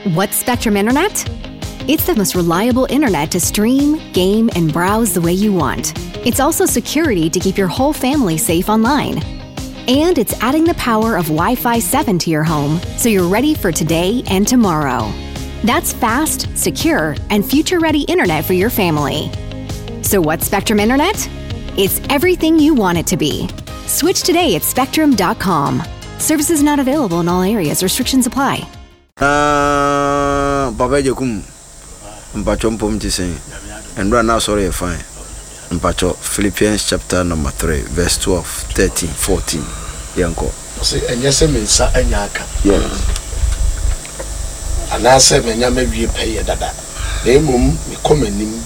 What's Spectrum Internet? It's the most reliable internet to stream, game, and browse the way you want. It's also security to keep your whole family safe online. And it's adding the power of Wi Fi 7 to your home so you're ready for today and tomorrow. That's fast, secure, and future ready internet for your family. So, what's Spectrum Internet? It's everything you want it to be. Switch today at spectrum.com. Services not available in all areas, restrictions apply. Aah papa agyakum mpakyɛ mpom te sɛn ɛnora na asɔre yɛ fine mpakyɛ Philippians chapter number 3 verse 12 13 14 yɛnkɔ. Ɔse ɛnyɛ sɛ me nsa anya aka. Yes. Anaasɛ manya mawie pɛyɛ dada, na mmom mekɔ m'anim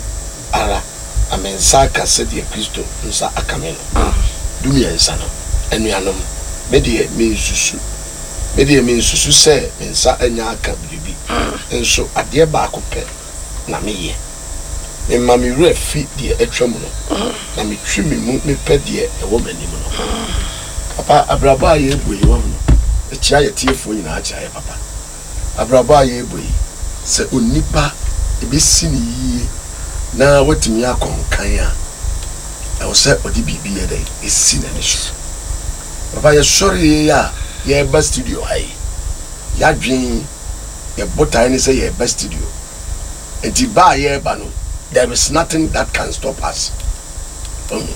ara na me nsa aka sɛdeɛ Kristo nsa aka me no. Dumiɛnsa no, anuanom, me deɛ mensusu, me deɛ mensusu sɛ me nsa anya aka biribi, nso adeɛ baako pɛ na meyɛ, mema me werɛ fi deɛ atwam no, na metwe me mu mepɛ deɛ ɛwɔ m'anim no. Papa, abrabɔ a yɛrebɔ yi, wahu no, ɛkyea yɛn atiefoɔ nyinaa, kyea yɛn papa. Abrabɔ a yɛrebɔ yi, sɛ onipa ɛbɛsi no yie na watumi akɔ nkan a, ɛwɔ sɛ ɔde biribi yɛ dɛn? Ɛsi n'ani so. Papa, yɛsɔreeɛ a yɛreba studio ha yi, yɛadwen, yɛn botaeɛ ne sɛ yɛreba studio. Nti ba a yɛreba no, there is nothing that can stop us. Wahu?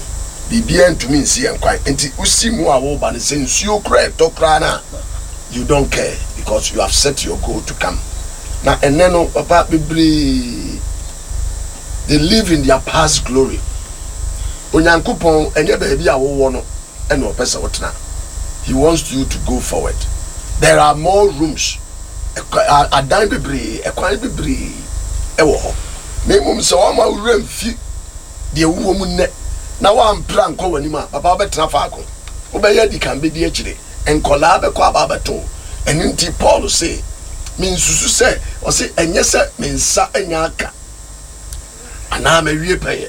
Biribiara ntumi nsi yɛn kwan. Nti wosi mu a woreba no, sɛ nsuo koraa ɛtɔ koraa no a, you don't care because you have set your goal to come. Na ɛnnɛ no, papa, bebree, they live in their past glory. Onyankopɔn, ɛnyɛ baabi a wowɔ no ɛna ɔpɛ sɛ wotena. He wants you to go forward. There are more rooms. Adan bebree, ɛkwan bebree ɛwɔ hɔ. Na mmom sɛ wɔama wo werɛ mfi deɛ wowɔ mu nnɛ na woampere ankɔ w'anim a, papa wobɛtena faako. Wobɛyɛ adi kan bɛdi akyire. Nkɔlaa bɛkɔ aba abɛto wo. Ɛno nti Paul se, mensusu sɛ, ɔse ɛnyɛ sɛ me nsa anya aka anaa mawie pɛyɛ.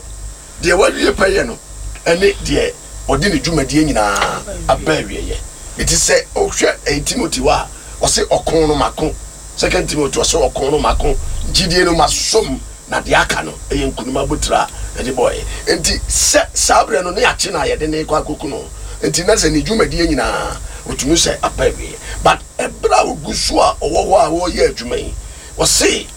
Deɛ wawie pɛyɛ no ne deɛ ɔde ne dwumadie nyinaa aba awieɛ. Enti sɛ wohwɛ ɛyi Timothy hɔ a, ɔse ɔko no mako. Second Timothy ɔse ɔko no mako, gyidie no masɔ mu, na deɛ aka no ɛyɛ nkunim abotire a yɛde bɔeɛ. Enti sɛ saa berɛ no ne akye no a yɛde no rekɔ akɔku no, enti na sɛ ne dwumadie nyinaa ɔtumi sɛ aba awieɛ. But ɛberɛ a ɔgu so a ɔwɔ hɔ a ɔreyɛ adwuma yi, ɔse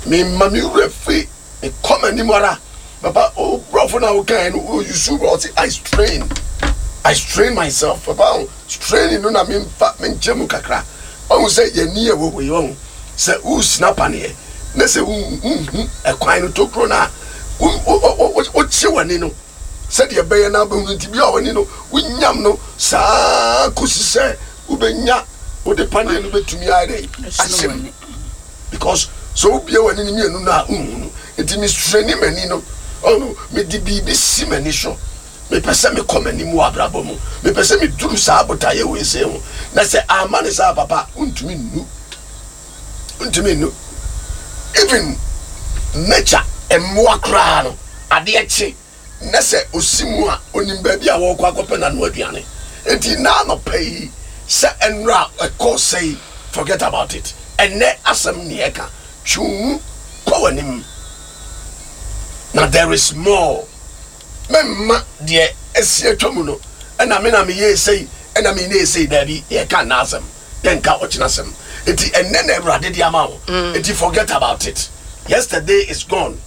mema me werɛ firi Mekɔ m'anim ara. Papa, o brɔfo na wokae no, o yusu bɔ ɔse I strain. I strain myself. Papa, o straining no na memfa menkyerɛ mu kakra. Wahu sɛ yɛni ɛwɔ hɔ yi, wahu sɛ wosina paneɛ na sɛ wonhu ɛkwan no tokuro no a, wokye w'ani no sɛdeɛ ɛbɛyɛ na wobɛhunu nti bi a w'ani no wonyam no saa kɔsi sɛ wobɛnya wode paneɛ no bɛtumi ayɛ dɛ ahyɛ mu. Because sɛ wobue w'ani no mmienu no a wonhu no. Nti mestreni m'ani no. Ɔno, mede biribi si m'ani so. Mepɛ sɛ mekɔ m'anim wɔ abrabɔ mu. Mepɛ sɛ meduru saa botaeɛ wei sei ho. Na sɛ amma no saa a, papa, wontumi nnu. Wontumi nnu. Even nature, mmoa koraa no, adeɛ kye na sɛ ɔsi mu a, ɔnim baabi a wɔrekɔ akɔpɛ n'ano aduane. Enti nnɛ anɔpa yi, sɛ nnora a ɛkɔɔ sɛe, forget about it. Ɛnnɛ asɛm ne yɛreka. Twe wo mu kɔ w'anim. Na there is more. Mɛmma deɛ asi atwa mu no, ɛna me na meyɛɛ sei, ɛna menyɛɛ sei. Daabi, yɛreka nnɛ asɛm, yɛnka ɔkyena asɛm. Enti ɛnnɛ na Awurade de ama wo. Enti forget about it. Yesterday is gone.